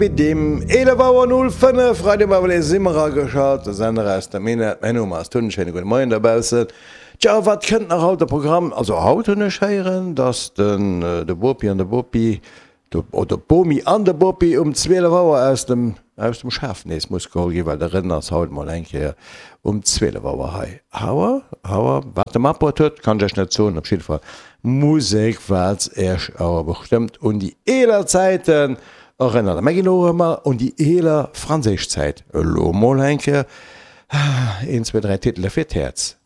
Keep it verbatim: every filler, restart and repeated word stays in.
Biddim, eelef Auer null fënnef, Radio Maulé si mer ageschalt, de Sender aus der Minett. Mäin Numm ass Tun, schéine gudde Moien dobaussen. Tja, wat kënnt nach haut de Programm? Also haut hunn ech héieren, dass den de Bopi an de Bopi, oder d'Bomi an de Bopi um zwielef Auer aus dem aus dem Schaf nees muss geholl ginn, well de Rënn ass haut mol eng Kéier um zwielef Auer hei. Auer, Auer, wat de matbruet huet, kann ech iech net soen, op jidde Fall Musek, wat iech awer bestëmmt un déi eeler Zäiten erënnert. A mir ginn elo erëm un déi eeler franséisch Zäit. Elo mol eng Kéier een, zwee, dräi Titele fir d'Häerz.